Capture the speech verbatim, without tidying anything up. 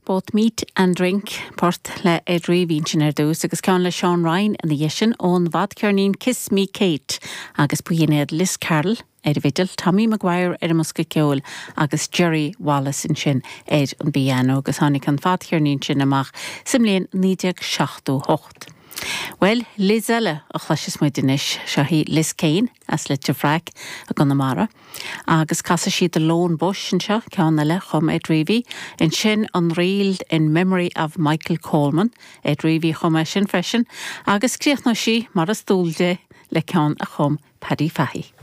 Both Meat and Drink port le Ed Reavy sin ar dtús agus ceann le Seán Ryan ina dhiaidh sin ón bhfadcheirnín Kiss Me Kate agus b'in iad Liz Carroll ar an bhfidil, Tommy Maguire ar an mbosca ceoil agus Jerry Wallace ansin ar an bpianó agus tháinig an fadcheirnín sin amach sa mbliain naoi déag seachtó hocht. Well, Liz eile a chloisfeas muid anois seo í Liz Kane as Leitir Fraic i gConamara, agus casfaidh sí The Lone Bush anseo ceann eile a chum Ed Reavy, ansin an ríl in Memory of Michael Coleman, Ed Reavy a chum é sin freisin, agus críochnóidh sí mar is dual di le ceann a chum Paddy Fahey.